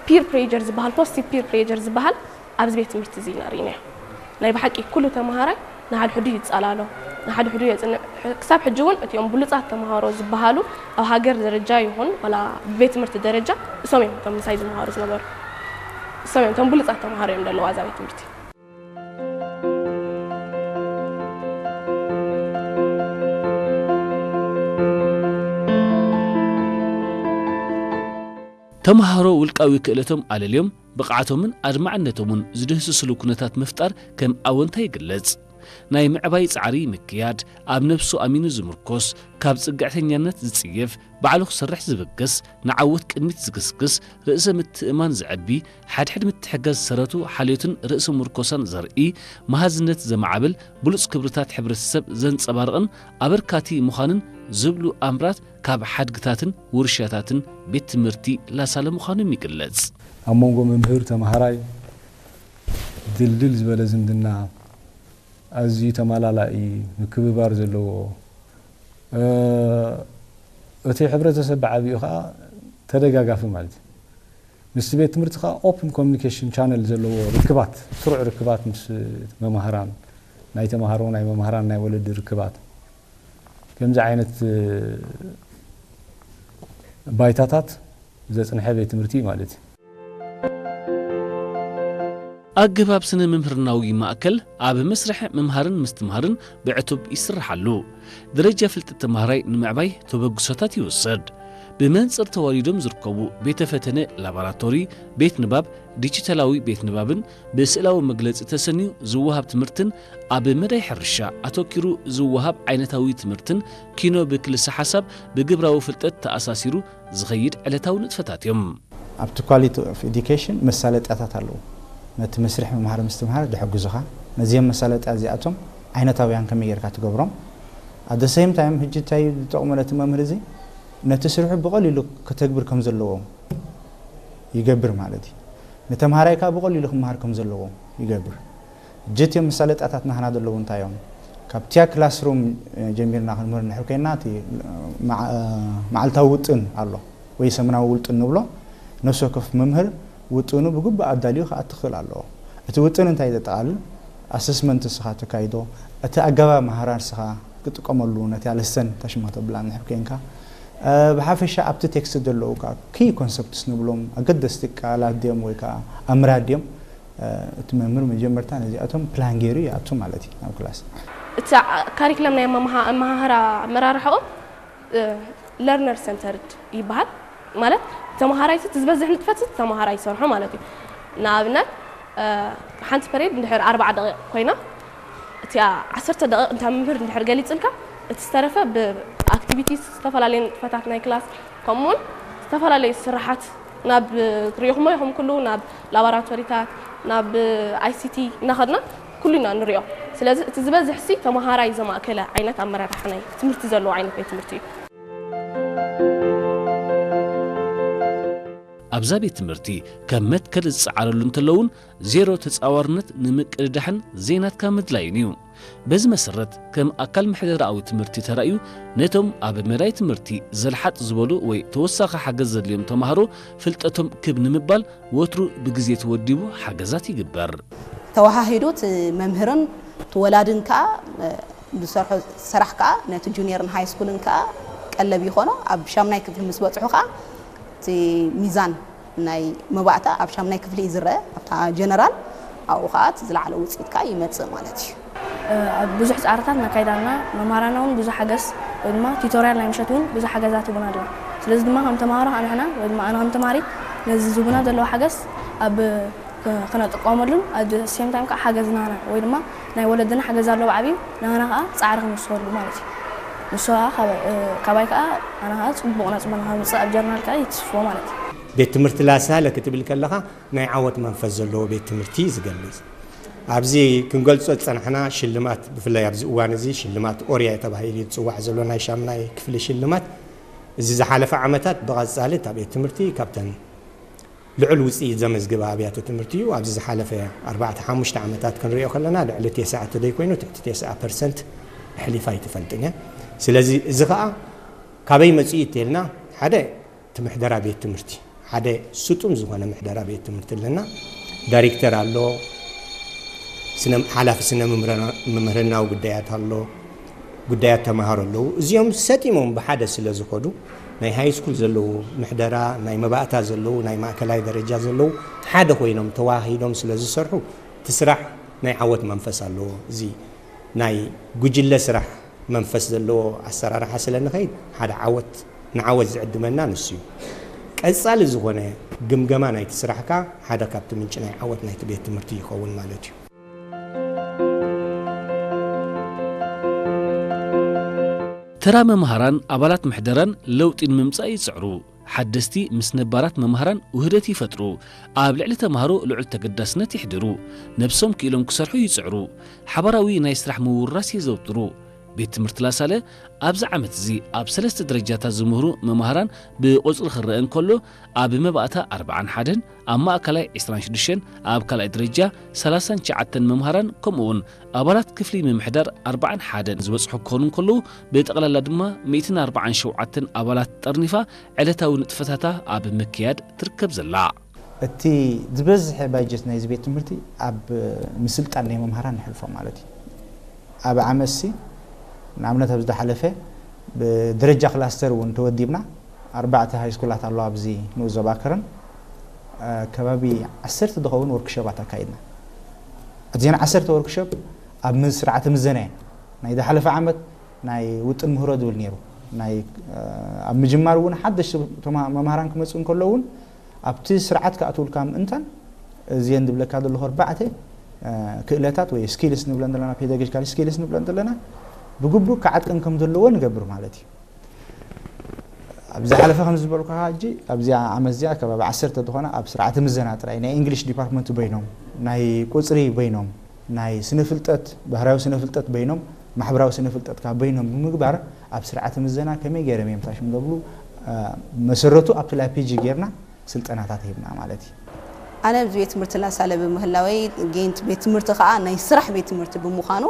ፒር ፕሬጀር ዝበሃል፣ ፖዚቲቭ ፒር ፕሬጀር ዝበሃል ኣብዚ ቤት ትምህርቲ እዚ ኢና ርኢናዮ። ናይ ብሓቂ ኩሉ ተምሃራይ ንሓድሕዱ ይጸላሎ፣ ንሓድሕዱ የጽንዕ። ክሳብ ሕጂ እውን እቲኦም ብሉጻት ተምሃሮ ዝበሃሉ ኣብ ሃገር ደረጃ ይኹን ዋላ ብቤት ትምህርቲ ደረጃ እሶም እዮም እቶም ምሳይ ዝመሃሩ ዝነበሩ። እሶም እዮም እቶም ብሉጻት ተምሃሮ እዮም ዘለዉ ኣብዛ ቤት ትምህርቲ። ተምሃሮ ውልቃዊ ክእለቶም ኣለልዮም ብቕዓቶምን ኣድማዕነቶምን ዝድህስስሉ ኩነታት ምፍጣር ከም ኣወንታ ይግለጽ። ናይ ምዕባይ ጻዕሪ ምክያድ፣ ኣብ ነብሱ ኣሚኑ ዝምርኮስ፣ ካብ ጽግዕተኛነት ዝጽየፍ፣ ባዕሉ ክሰርሕ ዝብገስ፣ ንዓወት ቅድሚት ዝግስግስ፣ ርእሰ ምትእማን ዘዕቢ፣ ሓድሕድ ምትሕጋዝ ሰረቱ ሓልዮትን ርእሰ ምርኮሳን ዘርኢ፣ መሃዝነት ዘማዕብል፣ ብሉጽ ክብርታት ሕብረተሰብ ዘንጸባርቕን ኣበርካቲ ምዃንን ዝብሉ ኣምራት ካብ ሓድግታትን ውርሻታትን ቤት ትምህርቲ ላሳለ ምዃኖም ይግለጽ። ኣብ መንጎ መምህር ተምሃራይ ድልድል ዝበለ ዝምድና ኣዝዩ ተማላላኢ ምክብባር ዘለዎ እቲ ሕብረተሰብ ብዓቢኡ ከዓ ተደጋጋፊ ማለት እዩ። ምስቲ ቤት ትምህርቲ ከዓ ኦፕን ኮሚኒኬሽን ቻነል ዘለዎ ርክባት ስሩዕ ርክባት ምስ መማህራን ናይ ተምሃሮ ናይ መማህራን ናይ ወለዲ ርክባት ከምዚ ዓይነት ባይታታት ዘጽንሐ ቤት ትምህርቲ እዩ ማለት እዩ። ኣገባብ ስነ ምምህርናዊ ማእከል ኣብ መስርሕ ምምሃርን ምስትምሃርን ብዕቱብ ይስርሓሉ። ደረጃ ፍልጠት ተምሃራይ ንምዕባይ ተበግሶታት ይውሰድ። ብመንጽር ተዋሊዶም ዝርከቡ ቤተ ፈተነ ላቦራቶሪ፣ ቤት ንባብ፣ ዲጂታላዊ ቤት ንባብን ብስእላዊ መግለጺ ተሰንዩ ዝወሃብ ትምህርትን ኣብ መዳይ ሕርሻ ኣተኪሩ ዝወሃብ ዓይነታዊ ትምህርትን ኪኖ ብክልሰ ሓሳብ ብግብራዊ ፍልጠት ተኣሳሲሩ ዝኸይድ ዕለታዊ ንጥፈታት እዮም። ኣብቲ ኳሊቲ ኦፍ ኤዱኬሽን መሳለጥያታት ኣለዉ። ነቲ መስርሕ ምምሃር ምስትምሃር ዝሕግዙኻ ነዚኦም መሳለጥያ እዚኣቶም ዓይነታውያን ከመይ ጌርካ ትገብሮም። ኣደ ሴም ታይም ሕጂ እንታይ ዝጠቕሙ ነቲ መምህር እዚ ነቲ ስርሑ ብቐሊሉ ከተግብር ከም ዘለዎ ይገብር ማለት እዩ። ንተምሃራይ ከዓ ብቐሊሉ ክምሃር ከም ዘለዎ ይገብር። ጀትዮም መሳለጥያታት ናህና ዘለዉ እንታይ እዮም? ካብቲያ ክላስሩም ጀሚርና ክንምህር እንድሕር ኮይና እቲ መዓልታዊ ውጥን ኣሎ ወይ ሰሙናዊ ውጥን ንብሎ ነፍሲ ወከፍ መምህር ውጥኑ ብግቡእ ኣዳልዩ ክኣቲ ክኽእል ኣለዎ። እቲ ውጥን እንታይ ዘጠቓልል ኣሰስመንት እስኻ ተካይዶ እቲ ኣገባብ መሃራ እስኻ ክትጥቀመሉ ነቲ ኣለስተን ታሽማ ተብላ እንድሕር ኮይንካ ብሓፈሻ ኣብቲ ቴክስት ዘለዉ ከዓ ኪ ኮንሰፕትስ ንብሎም ኣገደስቲ ቃላት ድዮም ወይ ከዓ ኣምራት ድዮም እቲ መምህር መጀመርታ ነዚኣቶም ፕላን ገይሩ ይኣቱ ማለት እዩ ናብ ክላስ። እቲ ካሪክለም ናይ ኣመሃህራ ኣመራርሓኦም ለርነር ሰንተርድ ይበሃል። ማለት ተመሃራይ እቲ ዝበዝሕ ንጥፈት ተመሃራይ ይሰርሖ ማለት እዩ። ንኣብነት ሓንቲ ፐሬድ እንድሕር ኣርባዓ ደቂቕ ኮይና እቲኣ ዓሰርተ ደቂቕ እንታ መምህር እንድሕር ገሊፅልካ እቲ ዝተረፈ ብኣክቲቪቲስ ዝተፈላለዩ ንጥፈታት ናይ ክላስ ከምኡውን ዝተፈላለዩ ስራሓት ናብ ሪኢኹሞ ኢኹም ኩሉ ናብ ላቦራቶሪታት ናብ ኣይሲቲ እናኸድና ኩሉ ኢና ንሪኦ። ስለዚ እቲ ዝበዝሕ ሲ ተመሃራይ ዘማእከለ ዓይነት ኣመራርሓ ናይ ትምህርቲ ዘለዎ ዓይነት ቤት ትምህርቲ እዩ። ኣብዛ ቤት ትምህርቲ ከም መትከል ዝጸዓረሉ እንተለውን ዜሮ ተጻዋርነት ንምቅድዳሕን ዘይናትካ ምድላይን እዩ። በዚ መሰረት ከም ኣካል ምሕደራዊ ትምህርቲ ተራእዩ ነቶም ኣብ መዳይ ትምህርቲ ዘልሓጥ ዝበሉ ወይ ተወሳኺ ሓገዝ ዘድልዮም ተማሃሮ ፍልጠቶም ክብ ንምባል ወትሩ ብግዜ ተወዲቡ ሓገዛት ይግበር። ተወሃሂዱ እቲ መምህርን እቲ ወላድን ከዓ ዝሰርሖ ስራሕ ከዓ ነቲ ጁኒየርን ሃይ ስኩልን ከዓ ቀለብ ይኾኖ። ኣብ ሻምናይ ክፍሊ ምስ በፅሑ ከዓ እቲ ሚዛን ናይ መባእታ ኣብ ሻምናይ ክፍሊ እዩ ዝረአ ኣብታ ጀነራል ኣብኡ ከዓ እቲ ዝለዓለ ውፅኢት ከዓ ይመፅእ ማለት እዩ። ኣብ ብዙሕ ፃዕርታት ነካይዳና መምሃራና እውን ብዙሕ ሓገዝ ወይ ድማ ቲቶሪያል ናይ ምሸት እውን ብዙሕ ሓገዛት ይቡና ኣለዋ። ስለዚ ድማ ከም ተምሃሮ ከዓ ንሕና ወይ ድማ ኣነ ከም ተምሃሪ ነዚ ዝቡና ዘለዋ ሓገዝ ኣብ ክነጥቀመሉን ኣደ ሴም ታይም ከዓ ሓገዝ ናህና ወይ ድማ ናይ ወለድና ሓገዝ ኣለዎ ዓብዩ ናህና ከዓ ፃዕሪ ክንወስኸሉ ማለት እዩ። ንሱ ከዓ ካባይ ከዓ ኣነ ከዓ ፅቡቕ ነፅበ ንከምፅእ ኣብ ጀርናል ከዓ ይትስፎ ማለት እዩ። ቤት ትምህርቲ ላሳለ ክትብል ከለኻ ናይ ዓወት መንፈስ ዘለዎ ቤት ትምህርቲ እዩ ዝገልፅ። ኣብዚ ክንገልፆ ዝፀናሕና ሽልማት ብፍላይ ኣብዚ እዋን እዚ ሽልማት ኦርያ ተባሂሉ እዩ ዝፅዋዕ ዘሎ ናይ ሻምናይ ክፍሊ ሽልማት እዚ ዝሓለፈ ዓመታት ብቐፃሊ እታ ቤት ትምህርቲ ካብተን ልዑል ውፅኢት ዘመዝግባ ኣብያተ ትምህርቲ እዩ። ኣብዚ ዝሓለፈ ኣርባዕተ ሓሙሽተ ዓመታት ክንሪኦ ከለና ልዕሊ ተስዓ ተዘይኮይኑ ትሕቲ ተስዓ ፐርሰንት ኣሕሊፋ ኣይትፈልጥን እያ። ስለዚ እዚ ከዓ ካበይ መፂኡ እንተልና ሓደ እቲ ምሕደራ ቤት ትምህርቲ ሓደ ስጡም ዝኾነ ምሕደራ ቤት ትምህርቲ ኣለና። ዳይሬክተር ኣሎ፣ ስነ ሓላፊ ስነ ምምህርና- ምምህርናዊ ጉዳያት ኣሎ፣ ጉዳያት ተምሃሮ ኣለዉ። እዚኦም ሰጢሞም ብሓደ ስለ ዝኸዱ ናይ ሃይ ስኩል ዘለዉ ምሕደራ፣ ናይ መባእታ ዘለዉ፣ ናይ ማእከላይ ደረጃ ዘለዉ ሓደ ኮይኖም ተዋሂዶም ስለ ዝሰርሑ እቲ ስራሕ ናይ ዓወት መንፈስ ኣለዎ። እዚ ናይ ጉጅለ ስራሕ መንፈስ ዘለዎ ኣሰራርሓ ስለ ንኸይድ ሓደ ዓወት ንዓወት ዝዕድመና ንሱ እዩ። ቀጻሊ ዝኾነ ግምገማ ናይቲ ስራሕ ከኣ ሓደ ካብቲ ምንጪ ናይ ዓወት ናይቲ ቤት ትምህርቲ ይኸውን ማለት እዩ። ተራ መምሃራን ኣባላት ምሕደራን ለውጢ ንምምጻእ ይጽዕሩ። ሓደስቲ ምስ ነባራት መምሃራን ውህደት ይፈጥሩ። ኣብ ልዕሊ ተምሃሮ ልዑል ተገዳስነት የሕድሩ። ነብሶም ክኢሎም ክሰርሑ ይጽዕሩ። ሓባራዊ ናይ ስራሕ ምውርራስ የዘውትሩ። ቤት ትምህርቲ ላሳለ ኣብዚ ዓመት እዚ ኣብ ሰለስተ ደረጃታት ዝምህሩ መምሃራን ብቁጽሪ ክረአ እንከሎ፣ ኣብ መባእታ ኣርብዓን ሓደን፣ ኣብ ማእከላይ ዕስራን ሽዱሽተን፣ ኣብ ካልኣይ ደረጃ ሰላሳን ትሽዓተን መምሃራን ከምኡ እውን ኣባላት ክፍሊ ምምሕዳር ኣርብዓን ሓደን ዝበጽሑ ክኾኑ እንከለዉ፣ ብጠቕላላ ድማ ሚእትን ኣርብዓን ሸውዓተን ኣባላት ጠርኒፋ ዕለታዊ ንጥፈታታ ኣብ ምክያድ ትርከብ ዘላ። እቲ ዝበዝሐ ባጀት ናይዚ ቤት ትምህርቲ ኣብ ምስልጣን ናይ መምሃራን ንሕልፎ ማለት እዩ። ኣብ ዓመትሲ ንኣብነት ኣብ ዝሓለፈ ብደረጃ ክላስተር እውን ተወዲብና ኣርባዕተ ሃይስኩላት ኣለዋ ኣብዚ ንኡስ ዞባ ከረን ከባቢ ዓሰርተ ዝኸውን ወርክሾባት ኣካይድና። እዚአን ዓሰርተ ወርክሾፕ ኣብ ስርዓተ ምዘና እየን። ናይ ዝሓለፈ ዓመት ናይ ውጥን ምህሮ ዝብል ነይሩ። ናይ ኣብ ምጅማር እውን ሓደሽቲ መምሃራን ክመፅኡ እንከሎ እውን ኣብቲ ስርዓት ክኣትውልካ ምእንታን እዚአን ዝብለካ ዘለኹ ኣርባዕተ ክእለታት ወይ ስኪልስ ንብለን ዘለና፣ ፔዳጎጂካል ስኪልስ ንብለን ዘለና ብግቡእ ክዓጥን ከም ዘለዎ ንገብር ማለት እዩ። ኣብ ዝሓለፈ ከም ዝበልኩኻ ሕጂ ኣብዚኣ ዓመት እዚኣ ከባቢ ዓሰርተ ዝኾና ኣብ ስርዓተ ምዘና ጥራይ ናይ እንግሊሽ ዲፓርትመንት በይኖም፣ ናይ ቁፅሪ በይኖም፣ ናይ ስነ ፍልጠት፣ ባህርያዊ ስነ ፍልጠት በይኖም፣ ማሕበራዊ ስነ ፍልጠት ካብ በይኖም ብምግባር ኣብ ስርዓተ ምዘና ከመይ ገይሮም እዮም ታሽም ዘብሉ መሰረቱ ኣብቲ ላፒጂ ጌርና ስልጠናታት ሂብና ማለት እዩ። ኣነ ኣብዚ ቤት ትምህርቲ ላሳለ ብምህላወይ ጌንት ቤት ትምህርቲ ከዓ ናይ ስራሕ ቤት ትምህርቲ ብምዃኑ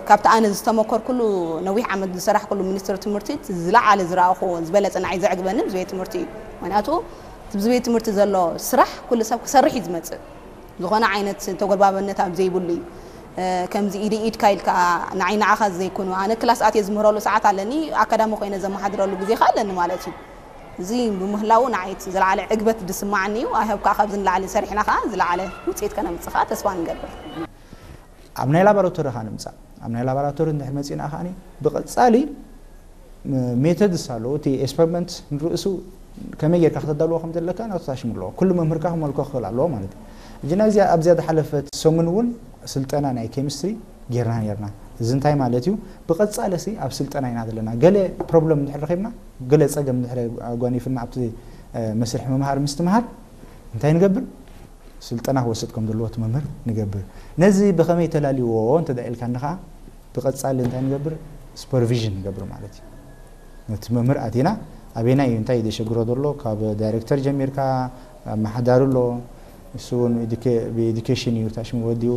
ካብቲ ኣነ ዝተመኮርኩሉ ነዊሕ ዓመት ዝሰራሕኩሉ ሚኒስትሪ ትምህርቲ ዝለዓለ ዝረኣኹዎ ዝበለፀ ንዓይ ዘዕግበኒ እዚ ቤት ትምህርቲ እዩ። ምክንያቱ ኣብዚ ቤት ትምህርቲ ዘሎ ስራሕ ኩሉ ሰብ ክሰርሕ እዩ ዝመፅእ። ዝኾነ ዓይነት ተጎልባበነት ኣብ ዘይብሉ እዩ። ከምዚ ኢደ ኢድካ ኢልካ ንዓይ ንዓኻ ዘይኮኑ ኣነ ክላስ ኣትየ ዝምህረሉ ሰዓት ኣለኒ ኣካዳሚ ኮይነ ዘመሓድረሉ ግዜ ከ ኣለኒ ማለት እዩ። እዚ ብምህላዉ ንዓይ እቲ ዝለዓለ ዕግበት ዝስማዓኒ እዩ። I hope ከዓ ካብዚ ንላዕሊ ሰሪሕና ከዓ ዝለዓለ ውፅኢት ከነምፅእ ከዓ ተስፋ ንገብር። ኣብ ናይ ላቦራቶሪ ኻ ንምፃእ ኣብ ናይ ላቦራቶሪ እንድሕር መፂና ከዓኒ ብቐፃሊ ሜተድስ ኣለዎ እቲ ኤክስፐሪመንት ንርእሱ ከመይ ጌርካ ክተዳልዎ ከም ዘለካ ናቱ ታሽሙ ኣለዎ ኩሉ መምህርካ ክመልኮ ክኽእል ኣለዎ ማለት እዩ እጅና እዚኣ ኣብዚኣ ዝሓለፈት ሰሙን እውን ስልጠና ናይ ኬሚስትሪ ጌርና ኔርና እዚ እንታይ ማለት እዩ ብቐፃሊ ሲ ኣብ ስልጠና ኢና ዘለና ገለ ፕሮብለም እንድሕር ረኺብና ገለ ፀገም እንድሕር ኣጓኒፍና ኣብቲ መስርሕ ምምሃር ምስትምሃር እንታይ ንገብር ስልጠና ክወስድ ከም ዘለዎ እቲ መምህር ንገብር ነዚ ብኸመይ ተላልዎ እንተ ኢልካኒ ከዓ ብቐፃሊ እንታይ ንገብር ሱፐርቪዥን ንገብር ማለት እዩ ነቲ መምህር ኣቲና ኣበይና እዩ እንታይ ዘሸግሮ ዘሎ ካብ ዳይሬክተር ጀሚርካ ኣመሓዳሪ ኣሎ ንሱ እውን ብኤዱኬሽን እዩ ታሽሙ ወዲኡ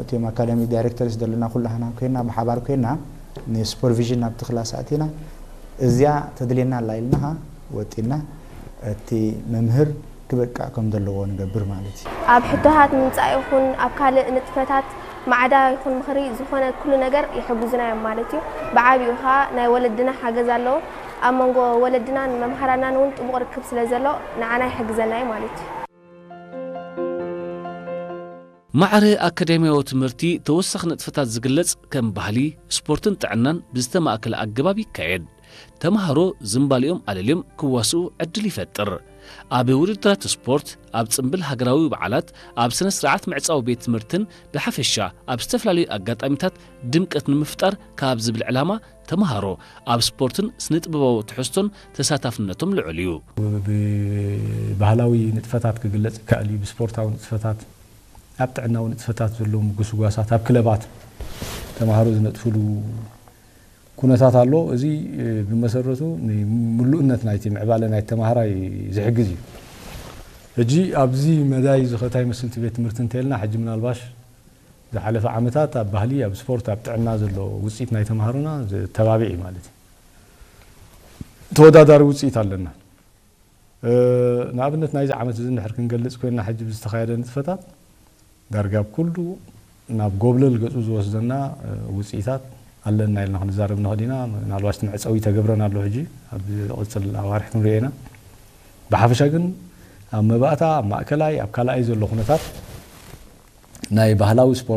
እቶም ኣካዳሚክ ዳይሬክተርስ ዘለና ኩላህና ኮይና ብሓባር ኮይና ንሱፐርቪዥን ናብቲ ክላስ ኣቲና እዚኣ ተድልየና ኣላ ኢልናኻ ወጢና እቲ መምህር ክበቅዕ ከም ዘለዎ ንገብር ማለት እዩ። ኣብ ሕቶታት ምምጻእ ይኹን ኣብ ካልእ ንጥፈታት ማዕዳ ይኹን ምኽሪ ዝኾነ ኩሉ ነገር ይሕግዙና እዮም ማለት እዩ። ብዓቢኡ ኸኣ ናይ ወለድና ሓገዝ ኣለዎ። ኣብ መንጎ ወለድናን መምሃራናን እውን ጥቡቕ ርክብ ስለ ዘሎ ንዓና ይሕግዘና እዩ ማለት እዩ። ማዕረ ኣካዳሚያዊ ትምህርቲ ተወሳኺ ንጥፈታት ዝግለጽ ከም ባህሊ፣ ስፖርትን ጥዕናን ብዝተማእከለ ኣገባብ ይካየድ። ተምሃሮ ዝምባሊኦም ኣለልዮም ክዋስኡ ዕድል ይፈጥር። ኣብ ውድድራት ስፖርት፣ ኣብ ጽምብል ሃገራዊ በዓላት፣ ኣብ ስነ ስርዓት ምዕጻዊ ቤት ትምህርትን ብሓፈሻ ኣብ ዝተፈላለዩ ኣጋጣሚታት ድምቀት ንምፍጣር ካብ ዝብል ዕላማ ተምሃሮ ኣብ ስፖርትን ስነ ጥበባዊ ትሕዝቶን ተሳታፍነቶም ልዑል እዩ። ብባህላዊ ንጥፈታት ክግለጽ ይከኣል እዩ፣ ብስፖርታዊ ንጥፈታት፣ ኣብ ጥዕናዊ ንጥፈታት ዘለዉ ምጉስጓሳት፣ ኣብ ክለባት ተምሃሮ ዝነጥፍሉ ኩነታት ኣሎ። እዚ ብመሰረቱ ንምሉእነት ናይቲ ምዕባለ ናይቲ ተምሃራይ ዝሕግዝ እዩ። ሕጂ ኣብዚ መዳይ እዚ ከ እንታይ ይመስል እቲ ቤት ትምህርቲ እንተኢልና፣ ሕጂ ምናልባሽ ዝሓለፈ ዓመታት ኣብ ባህሊ፣ ኣብ ስፖርት፣ ኣብ ጥዕና ዘሎ ውፅኢት ናይ ተምሃሮና ዘተባብዕ እዩ ማለት እዩ። ተወዳዳሪ ውፅኢት ኣለና። ንኣብነት ናይዚ ዓመት እዚ እንድሕር ክንገልጽ ኮይና ሕጂ ብዝተኻየደ ንጥፈታት ዳርጋ ኣብ ኩሉ ናብ ጎብለል ገጹ ዝወስደና ውፅኢታት ኣለና ኢልና ክንዛረብ ንኽእል ኢና። ምናልባት መዕፀዊ ተገብረን ኣሎ ሕጂ ኣብ ዝቕፅል ኣዋርሕ ክንሪኦ ኢና። ብሓፈሻ ግን ኣብ መባእታ ኣብ ማእከላይ ኣብ ካልኣይ ዘሎ ኩነታት ናይ ባህላዊ ስፖርት